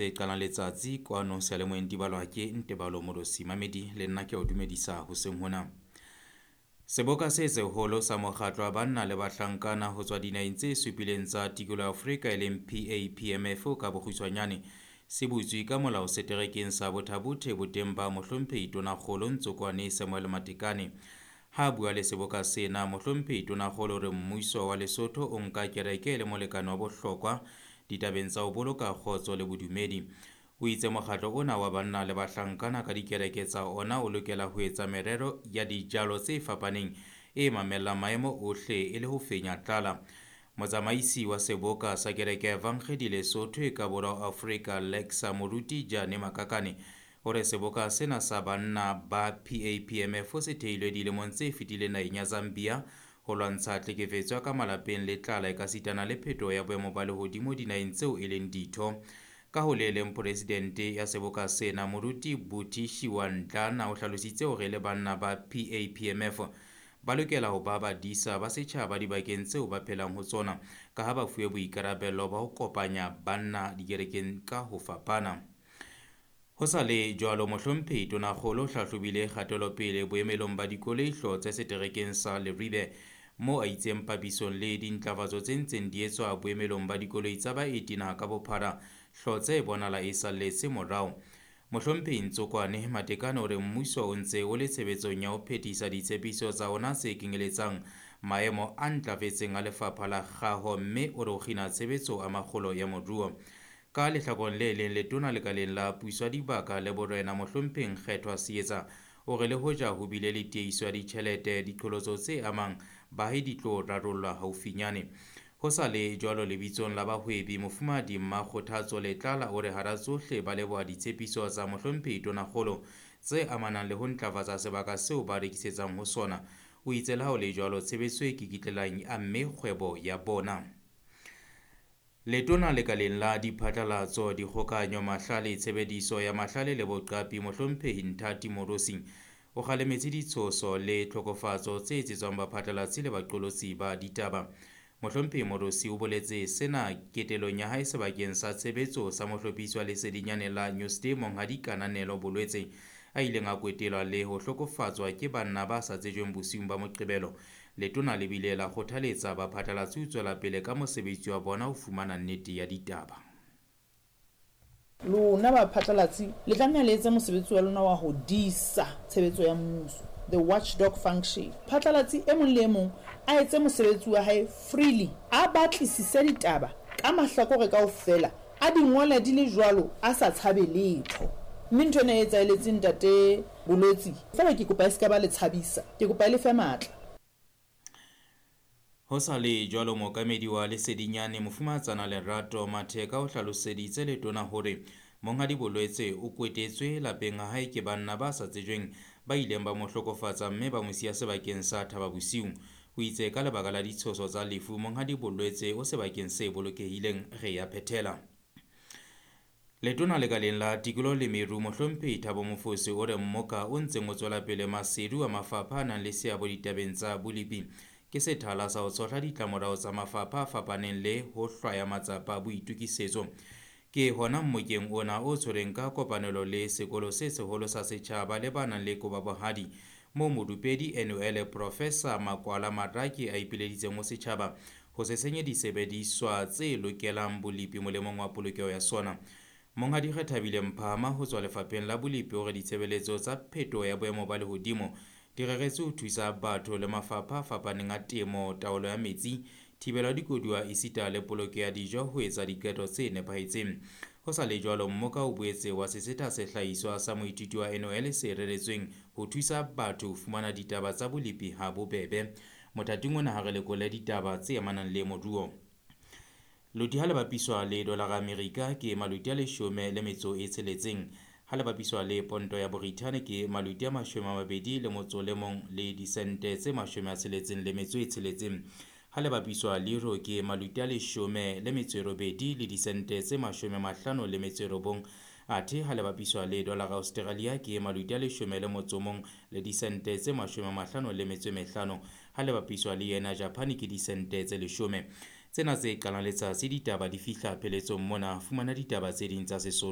Tse qalang letsatsi kwano seyalemoyeng di balwa ke Ntebalo Molosi Mamedi le nna ke o dumedisa hoseng hona. Seboka se seholo sa mokgatlo wa banna le bahlankana ho tswa dinaheng tse supileng tsa tikoloho ya Afrika e leng PAPMF ka bokgutshwanyane se butswe ka molao seterekeng sa Botha-Bothe boteng ba mohlomphehi Tonakgolo Ntsokoane Samuel Matekane. Ha a bua le seboka sena, mohlomphehi Tonakgolo o re mmuso wa Lesotho o nka kereke e le molekane wa bohlokwa ditabeng tsa ho boloka kgotso le bodumedi. O itse mokgatlo ona wa banna le bahlankana ka dikereke tsa ona o lokela ho etsa merero ya dijalo tse fapaneng e mamellang maemo ohle e le ho fenya tlala. Motsamaisi wa seboka sa kereke ya Evangedi Lesotho e ka borwa Afrika Lexa Moruti Jane Makakane o re seboka sena sa banna ba PAPMF se theilwe dilemong tse fetileng naheng ya Zambia ho lwantsha tlhekefetso ya ka malapeng le tlala ekasitana le phetoho ya boemo ba lehodimo dinaheng tseo e leng ditho. Ka ho le leng, presidente ya seboka sena Moruti Buti Shiwandlana o hlalositse hore le banna ba PAPMF ba lokela ho ba badisa ba setjhaba dibakeng tseo ba phelang ho tsona, ka ha ba fuwe boikarabelo ba ho kopanya banna dikerekeng ka ho fapana. Ho sa le jwalo, mohlomphehi Tonakgolo o hlahlobile kgatelopele boemelong ba dikoloi Hlotse seterekeng sa Leribe, moo a itseng papisong le dintlafatso tse ntseng di etswa boemelong ba dikoloi tsa baeti naha ka bophara, Hlotse e bonahala e salletse morao. Mohlomphehi Ntsokoane Matekane o re mmuso o ntse o le tshebetsong ya ho phethisa ditshepiso tsa ona tse kenyeletsang maemo a ntlafetseng a lefapha la kgaho, mme o re o kgina tshebetso a makgolo ya moruo. Ka lehlakoreng le leng, letona lekaleng la puso ya dibaka le borena mohlomphehi Nkgethwa Seetsa o re le hoja ho bile le tiehiso ya ditjhelete, diqholotso tse amang baahi di tlo rarollwa haufinyane. Ho sa le jwalo, lebitsong la bahwebi mofumahadi Mmakgothatso Letlala o re hara tsohle ba leboha ditshepiso tsa mohlomphehi Tonakgolo tse amanang le ho ntlafatsa sebaka seo ba rekisetsang ho sona. O itse le ha ho le jwalo, tshebetso e kikitlelang e amme kgwebo ya bona. Letona lekaleng la diphatlalatso, dikgokahanyo, mahlale, tshebediso ya mahlale le boqapi mohlomphehi Nthati Moorosi o kgalemetse ditshoso le tlhokofatso tse etsetswang baphatlalatsi le baqolotsi ba ditaba. Mohlomphehi Moorosi o boletse sena ketelong ya hae sebakeng sa tshebetso sa mohlophisi wa lesedinyane la Newsday Monghadi Kananelo Bolwetse, a ileng a kwetelwa le ho hlokofatswa ke banna ba sa tsejweng bosiung ba Moqebelo. Letona le bile la kgothaletsa baphatlalatsi ho tswela pele ka mosebetsi wa bona ho fumana nnete ya ditaba. Lona baphatlalatsi le tlameha le etse mosebetsi wa lona wa ho disa tshebetso ya mmuso, the watchdog function. Phatlalatsi e mong le e mong a etse mosebetsi wa hae freely, a batlisise ditaba ka mahlakore kaofela, a di ngole di le jwalo a sa tshabe letho. Mme ntho ena e etsaheletseng ntate Bolwetsi, feela ke kopa e se ka ba le tshabisa, ke kopa e le fe matla. Ho sa le jwalo, mookamedi wa Lesedinyane Mofumahatsana Lerato Matheka o hlaloseditse letona hore monghadi Bolwetse o kwetetswe lapeng ha hae ke banna ba sa tsejweng ba ileng ba mo hlokofatsa mme ba mo siya sebakeng sa Thaba Bosiu. O itse ka lebaka la ditshoso tsa lefu, monghadi Bolwetse o sebakeng se bolokehileng. Re ya phethela. Letona lekaleng la tikoloho le meru mohlomphehi Thabo Mofose o re mmoka o ntseng o tswela pele Maseru a mafapha a nang le seabo ditabeng tsa bolepi ke sethala sa ho tshohla ditlamorao tsa mafapha a fapaneng le ho hlwaya matsapa a boitokisetso. Ke hona mmokeng ona o tshwereng ka kopanelo le sekolo se seholo sa setjhaba le ba nang le kobabohadi, moo morupedi NUL Professor Makwala Maraki a ipileditseng ho setjhaba ho se senye disebediswa tse lokelang bolepi molemong wa polokeho ya sona. Monghadi Rethabile Mphama ho tswa lefapheng la bolepi o re ditshebeletso tsa phetoho ya boemo ba lehodimo di reretswe ho thusa batho le mafapha a fapaneng a temo, taolo ya metsi, thibelo ya dikoduwa esita le poloko ya dijo ho etsa diqeto tse nepahetseng. Ho sa le jwalo, mmoka o boetse wa sesetha sehlahiswa sa moithuti wa NOL se reretsweng ho thusa batho ho fumana ditaba tsa bolepi ha bobebe. Mothating ona ha re lekole ditaba tse amanang le moruo. Loti ha le bapiswa le dolara Amerika ke maloti a 16, ha le bapiswa le ponto ya Borithane ke maloti a 21 le disente tse 66, ha le bapiswa le euro ke maloti a 18 le disente tse 59, athe ha le bapiswa le dolara Australia ke maloti a 11 le disente tse 55, ha le bapiswa le yena Japan ke disente tse 10. Tsena tse qalang letsatsi ditaba di fihla pheletsong mona. Fumana ditaba tse ding tsa Sesotho.